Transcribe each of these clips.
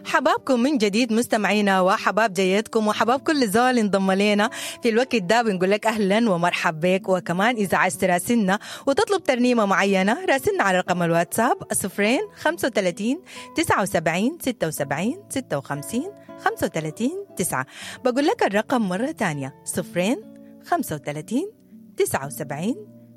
حبابكم من جديد مستمعينا، وحباب جيتكم، وحباب كل زول انضم لنا في الوقت ده. بنقول لك اهلا ومرحب بك. وكمان اذا عايز تراسلنا وتطلب ترنيمه معينه، راسلنا على رقم الواتساب 0 35 79 76 56 35 9. بقول لك الرقم مره ثانيه: 0 35 79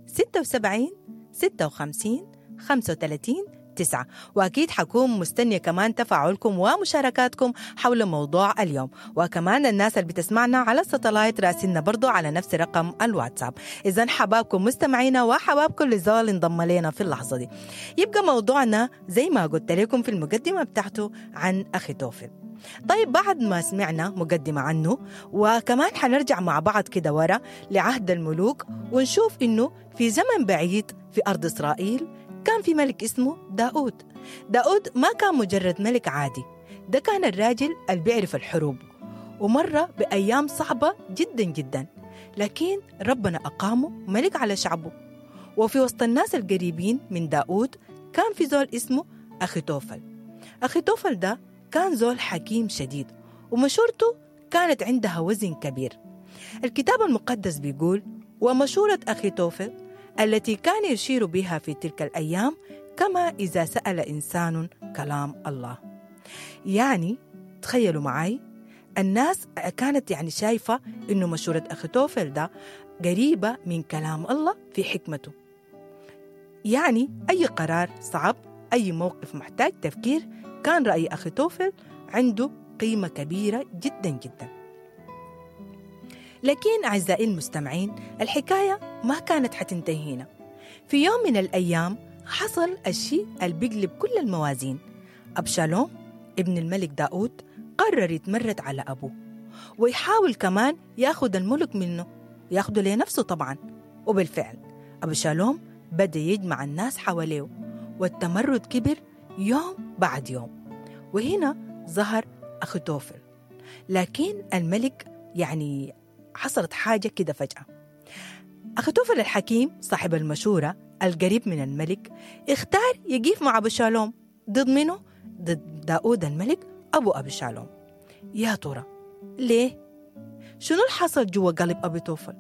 76 56 35 9. وأكيد حكون مستنية كمان تفاعلكم ومشاركاتكم حول موضوع اليوم. وكمان الناس اللي بتسمعنا على الستلايت، راسلنا برضو على نفس رقم الواتساب. إذا حبابكم مستمعينا، وحباب كل زول انضم لنا في اللحظة دي. يبقى موضوعنا زي ما قلت لكم في المقدمة بتاعته عن أخيتوفل. طيب، بعد ما سمعنا مقدمة عنه، وكمان حنرجع مع بعض كده ورا لعهد الملوك، ونشوف إنه في زمن بعيد في أرض إسرائيل كان في ملك اسمه داود. داود ما كان مجرد ملك عادي، ده كان الراجل اللي بيعرف الحروب ومر بأيام صعبة جدا جدا، لكن ربنا أقامه ملك على شعبه. وفي وسط الناس القريبين من داود كان في زول اسمه أخيتوفل. أخيتوفل ده كان زول حكيم شديد، ومشورته كانت عندها وزن كبير. الكتاب المقدس بيقول: ومشورة أخيتوفل التي كان يشير بها في تلك الأيام كما إذا سأل إنسان كلام الله. يعني تخيلوا معي، الناس كانت يعني شايفة إنه مشورة أخيتوفل ده قريبة من كلام الله في حكمته. يعني أي قرار صعب، أي موقف محتاج تفكير، كان رأي أخيتوفل عنده قيمة كبيرة جدا جدا. لكن أعزائي المستمعين، الحكاية ما كانت حتنتهي هنا. في يوم من الأيام حصل الشيء اللي بيقلب كل الموازين. أبشالوم ابن الملك داود قرر يتمرد على أبوه، ويحاول كمان ياخد الملك منه، ياخده لنفسه طبعا. وبالفعل أبشالوم بدأ يجمع الناس حواليه، والتمرد كبر يوم بعد يوم. وهنا ظهر أخيتوفل. لكن الملك يعني حصلت حاجة كده فجأة. أخيتوفل الحكيم صاحب المشورة القريب من الملك اختار يقيف مع أبشالوم ضد منه؟ ضد داود الملك أبو أبشالوم. يا ترى ليه؟ شنو اللي حصل جوا قلب أبيتوفل؟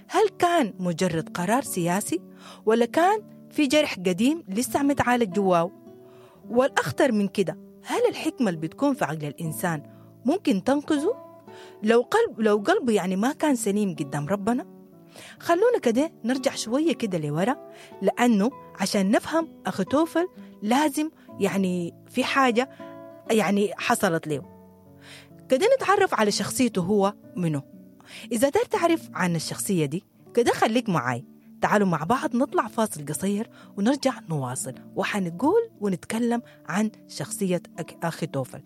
هل كان مجرد قرار سياسي، ولا كان في جرح قديم لسه متعالج جواه؟ والأخطر من كده، هل الحكمة اللي بتكون في عقل الإنسان ممكن تنقذه لو قلبه يعني ما كان سليم قدام ربنا؟ خلونا كده نرجع شوية كده لورا، لأنه عشان نفهم أخيتوفل لازم يعني في حاجة يعني حصلت له كده، نتعرف على شخصيته هو منه. إذا دار تعرف عن الشخصية دي كده خليك معاي، تعالوا مع بعض نطلع فاصل قصير ونرجع نواصل، وحنقول ونتكلم عن شخصية أخيتوفل.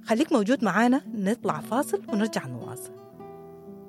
خليك موجود معانا، نطلع فاصل ونرجع نواصل.